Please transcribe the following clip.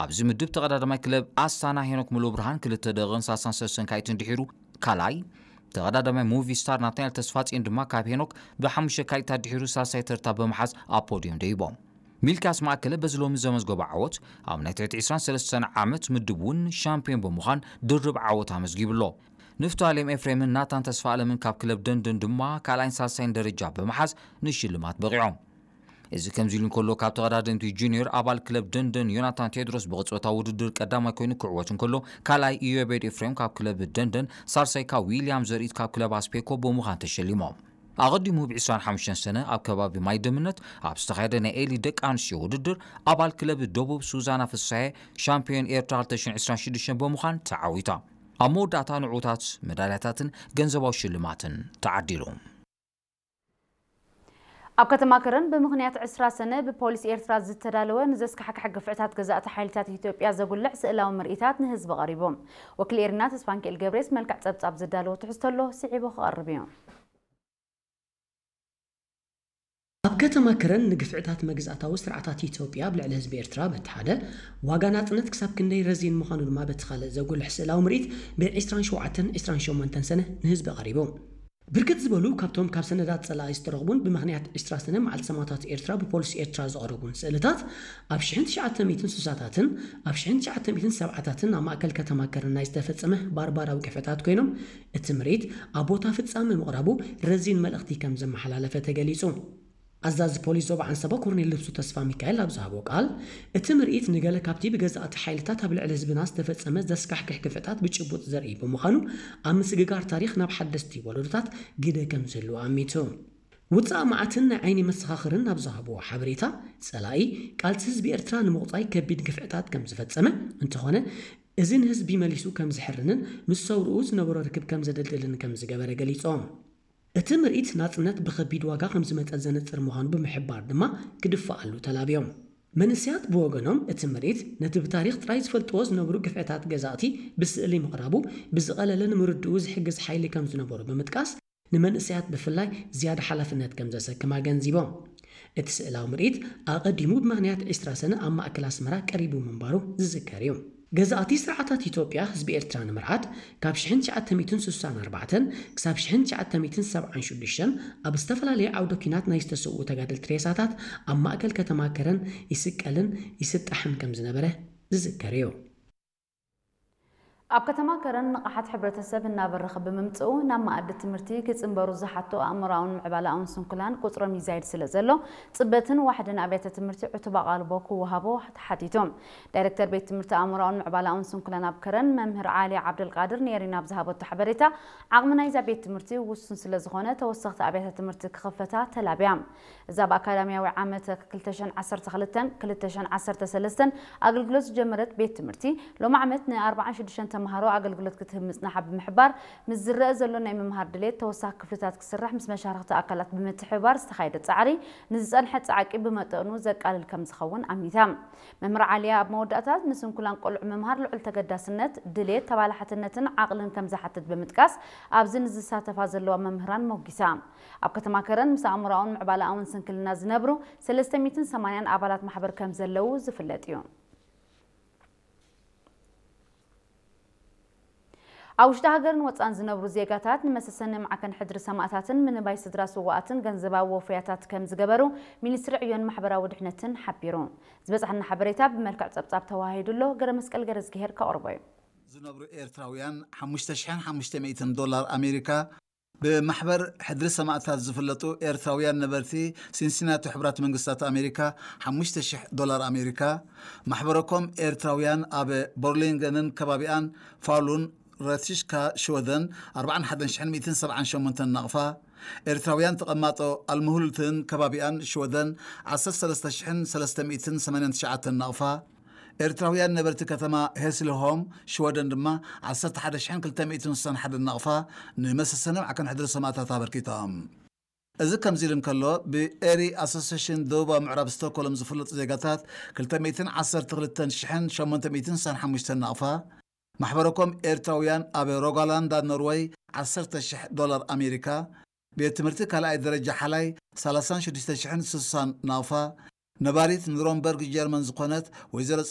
ኣብዚ ምድብ ተቐዳዳማይ ክለብ ኣስታና ሄኖክ ሙሉ ብርሃን ክልተ ደቂቕን ሰላሳን ሰለስተን ካይትን ድሒሩ ካልኣይ፣ ተቐዳዳማይ ሙቪ ስታር ናትናኤል ተስፋጽዮን ድማ ካብ ሄኖክ ብሓሙሽተ ካይታት ድሒሩ ሳልሳይ ተርታ ብምሓዝ ኣብ ፖድዮም ደይቦም። ሚልክያስ ማእከለ በዚ ሎሚ ዘመዝገቦ ዓወት ኣብ ናይ ትሕቲ ዕስራን ሰለስተን ዓመት ምድብ እውን ሻምፒዮን ብምዃን ድርብ ዓወት ኣመዝጊቡ ኣሎ። ንፍታሌም ኤፍሬምን ናታን ተስፋ ኣለምን ካብ ክለብ ደንደን ድማ ካልኣይን ሳልሳይን ደረጃ ብምሓዝ ንሽልማት በቒዖም። እዚ ከምዚ ኢሉ እንከሎ ካብ ተቐዳደምቲ ጁኒየር ኣባል ክለብ ደንደን ዮናታን ቴድሮስ ብቕጽበታዊ ውድድር ቀዳማይ ኮይኑ ክዕወት እንከሎ ካልኣይ ኢዮቤድ ኤፍሬም ካብ ክለብ ደንደን ሳልሳይ ካብ ዊልያም ዘርኢት ካብ ክለብ ኣስፔኮ ብምዃን ተሸሊሞም። ኣቐዲሙ ብ ዕስራን ሓሙሽተን ሰነ ኣብ ከባቢ ማይ ደምነት ኣብ ዝተኻየደ ናይ ኤሊ ደቂ ኣንስትዮ ውድድር ኣባል ክለብ ደቡብ ሱዛና ፍሳየ ሻምፒዮን ኤርትራ ክልተ ሽሕን ዕስራን ሽዱሽተን ብምዃን ተዓዊታ። ኣብ መወዳእታ ንዕዉታት መዳልያታትን ገንዘባዊ ሽልማትን ተዓዲሉ። ኣብ ከተማ ከረን ብምኽንያት ዕስራ ሰነ ብፖሊስ ኤርትራ ዝተዳለወ ንዘስካሕክሕ ግፍዕታት ገዛእቲ ሓይልታት ኢትዮጵያ ዘጉልሕ ስእላዊ ምርኢታት ንህዝቢ ቀሪቡ። ወኪል ኤሪና ተስፋንኪኤል ገብሬስ መልክዕ ጸብጻብ ዘዳለዎ ትሕዝቶ ኣሎ፣ ስዒቡ ክቐርብ እዩ። ኣብ ከተማ ከረን ንግፍዕታት መግዛእታዊ ስርዓታት ኢትዮጵያ ኣብ ልዕሊ ህዝቢ ኤርትራ በቲ ሓደ፣ ዋጋ ናጽነት ክሳብ ክንደይ ረዚን ምዃኑ ድማ በቲ ካልእ ዘጉልሕ ስእላዊ ምርኢት ብ ዕስራን ሸውዓተን ዕስራን ሸሞንተን ሰነ ንህዝቢ ቀሪቡ። ብርክት ዝበሉ ካብቶም ካብ ሰነዳት ጸላኢ ዝተረኽቡን ብምኽንያት ዕስራ ሰነ መዓልቲ ሰማእታት ኤርትራ ብፖሊስ ኤርትራ ዝቐረቡን ስእልታት፣ ኣብ ሽሕን ትሽዓተ ሚእትን ስሳታትን ኣብ ሽሕን ትሽዓተ ሚእትን ሰብዓታትን ኣብ ማእከል ከተማ ከረን ናይ ዝተፈጸመ ባርባራዊ ግፍዕታት ኮይኖም፣ እቲ ምርኢት ኣብ ቦታ ፍጻመ ምቕራቡ ረዚን መልእኽቲ ከም ዘመሓላለፈ ተገሊጹ። ኣዛዚ ፖሊስ ዞባ ዓንሰባ ኮርኔል ልብሱ ተስፋ ሚካኤል ኣብ ዝሃቦ ቃል፣ እቲ ምርኢት ንገለ ካብቲ ብገዛእቲ ሓይልታት ኣብ ልዕሊ ህዝብና ዝተፈጸመ ዘስካሕክሕ ግፍዕታት ብጭቡጥ ዘርኢ ብምዃኑ፣ ኣብ ምስግጋር ታሪኽ ናብ ሓደስቲ ወለዶታት ግደ ከም ዝህልዎ ኣሚቱ። ውጻእ መዓትን ናይ ዓይኒ መሰኻኽርን ኣብ ዝሃብዎ ሓበሬታ፣ ጸላኢ ቃልሲ ህዝቢ ኤርትራ ንምቑጻይ ከቢድ ግፍዕታት ከም ዝፈጸመ፣ እንተኾነ እዚ ንህዝቢ መሊሱ ከም ዝሕርንን ምስ ሰውርኡ ዝነበሮ ርክብ ከም ዘደልድልን ከም ዝገበረ ገሊጾም። እቲ ምርኢት ናጽነት ብኸቢድ ዋጋ ከም ዝመጸ ዘነጽር ምዃኑ ብምሕባር ድማ ክድፈኣሉ ተላብዮም። መንእሰያት ብወገኖም እቲ ምርኢት ነቲ ብታሪኽ ጥራይ ዝፈልጥዎ ዝነብሩ ግፍዕታት ገዛእቲ ብስእሊ ምቕራቡ ብዝቐለለ ንምርድኡ ዝሕግዝ ሓይሊ ከም ዝነበሩ ብምጥቃስ፣ ንመንእሰያት ብፍላይ ዝያዳ ሓላፍነት ከም ዘሰክም ኣገንዚቦም። እቲ ስእላዊ ምርኢት ኣቐዲሙ ብምኽንያት ዕስራ ሰነ ኣብ ማእከል ኣስመራ ቀሪቡ ምንባሩ ዝዝከር እዩ። ገዛእቲ ስርዓታት ኢትዮጵያ ህዝቢ ኤርትራ ንምርዓድ ካብ ሽሕን ትሽዓተ ሚእትን ስሳን ኣርባዕተን ክሳብ ሽሕን ትሽዓተ ሚእትን ሰብዓን ሽዱሽተን ኣብ ዝተፈላለየ ዓውደ ኲናት ናይ ዝተሰውኡ ተጋደልቲ ሬሳታት ኣብ ማእከል ከተማ ከረን ይስቀልን ይስጣሕን ከም ዝነበረ ዝዝከር እዩ። ኣብ ከተማ ከረን ንቕሓት ሕብረተሰብ እናበረኸ ብምምጽኡ፣ ናብ መኣዲ ትምህርቲ ክጽንበሩ ዝሓቶ ኣእምሮኣውን ምዕባለኣውን ስንኩላን ቁጽሮም ይዛይድ ስለ ዘሎ፣ ጽበትን ዋሕድን ኣብያተ ትምህርቲ ዕቱብ ኣቓልቦ ክወሃቦ ተሓቲቱ። ዳይሬክተር ቤት ትምህርቲ ኣእምሮኣውን ምዕባለኣውን ስንኩላን ኣብ ከረን፣ መምህር ዓሊ ዓብደልቃድር፣ ንኤሪና ኣብ ዝሃበቶ ሓበሬታ፣ ዓቕሚ ናይዛ ቤት ትምህርቲ ውሱን ስለ ዝኾነ፣ ተወሰኽቲ ኣብያተ ትምህርቲ ክኽፈታ ተላብያ። እዛ ብኣካዳሚያዊ ዓመት ክልተ ሽሕን ዓሰርተ ክልተን ክልተ ሽሕን ዓሰርተ ሰለስተን ኣገልግሎት ዝጀመረት ቤት ትምህርቲ፣ ሎም ዓመት ን ኣርባዓን ሽዱሽተን ተምሃሮ ኣገልግሎት ክትህብ ምጽናሓ ብምሕባር፣ ምስ ዝረአ ዘሎ ናይ ምምሃር ድሌት ተወሳኺ ክፍልታት ክስራሕ ምስ መሻርኽቲ ኣካላት ብምትሕብባር ዝተኻየደ ጻዕሪ፣ ንዝጸንሐ ጻዕቂ ብመጠኑ ዘቃልል ከም ዝኸውን ኣሚታ። መምህር ዓሊያ ኣብ መወዳእታ፣ ንስንኩላን ቆልዑ ምምሃር ልዑል ተገዳስነት፣ ድሌት፣ ተባላሓትነትን ዓቕልን ከም ዝሓትት ብምጥቃስ፣ ኣብዚ ንዝሳተፋ ዘለዋ መምህራን ሞጊሳ። ኣብ ከተማ ከረን ምስ ኣእምሮኣውን ምዕባለኣውን ስንክልና ዝነብሩ ሰለስተ ሚእትን ሰማንያን ኣባላት ማሕበር ከም ዘለዉ ዝፍለጥ እዩ። ኣብ ውሽጢ ሃገርን ወጻን ዝነብሩ ዜጋታት ንመሰሰኒ ማዕከን ሕድሪ ሰማእታትን ምንባይ ስድራ ስውኣትን ገንዘባዊ ወፈያታት ከም ዝገበሩ ሚኒስትሪ ዕዮን ማሕበራዊ ድሕነትን ሓቢሩ። ዝበጻሕና ሓበሬታ ብመልክዕ ጸብጻብ ተዋሂዱ ኣሎ። ገረ መስቀል ገረ ዝግሄር ከቕርቦ እዩ። ዝነብሩ ኤርትራውያን ሓሙሽተ ሽሕን ሓሙሽተ ሚእትን ዶላር ኣሜሪካ ብማሕበር ሕድሪ ሰማእታት ዝፍለጡ ኤርትራውያን ነበርቲ ሲንሲናቲ ሕቡራት መንግስታት ኣሜሪካ ሓሙሽተ ሽሕ ዶላር ኣሜሪካ፣ ማሕበረኮም ኤርትራውያን ኣብ ቦርሊንገንን ከባቢኣን ፋሉን ረቲሽካ ሽወደን ኣርባዓን ሓደን ሽሕን ሚእትን ሰብዓን ሸሞንተን ናቕፋ፣ ኤርትራውያን ተቐማጦ ኣልምሁልትን ከባቢኣን ሽወደን ዓሰርተ ሰለስተ ሽሕን ሰለስተ ሚእትን ሰማንያን ትሽዓተን ናቕፋ፣ ኤርትራውያን ነበርቲ ከተማ ሄስልሆም ሽወደን ድማ ዓሰርተ ሓደ ሽሕን ክልተ ሚእትን ስሳን ሓደን ናቕፋ ንመሰሰኒ ማዕከን ሕድሪ ሰማእታት ኣበርኪቶም። እዚ ከምዚ ኢሉ እንከሎ፣ ብኤሪ ኣሶሴሽን ደቡባዊ ምዕራብ ስቶክሆልም ዝፍለጡ ዜጋታት ክልተ ሚእትን ዓሰርተ ክልተን ሽሕን ሸሞንተ ሚእትን ስሳን ሓሙሽተን ናቕፋ፣ ማሕበረኮም ኤርትራውያን ኣብ ሮጋላንዳ ኖርወይ ዓሰርተ ሽሕ ዶላር ኣሜሪካ፣ ቤት ትምህርቲ ካልኣይ ደረጃ ሓላይ ሰላሳን ሽዱሽተ ሽሕን ስሳን ናቕፋ፣ ነባሪት ኑረምበርግ ጀርመን ዝኾነት ወይዘሮ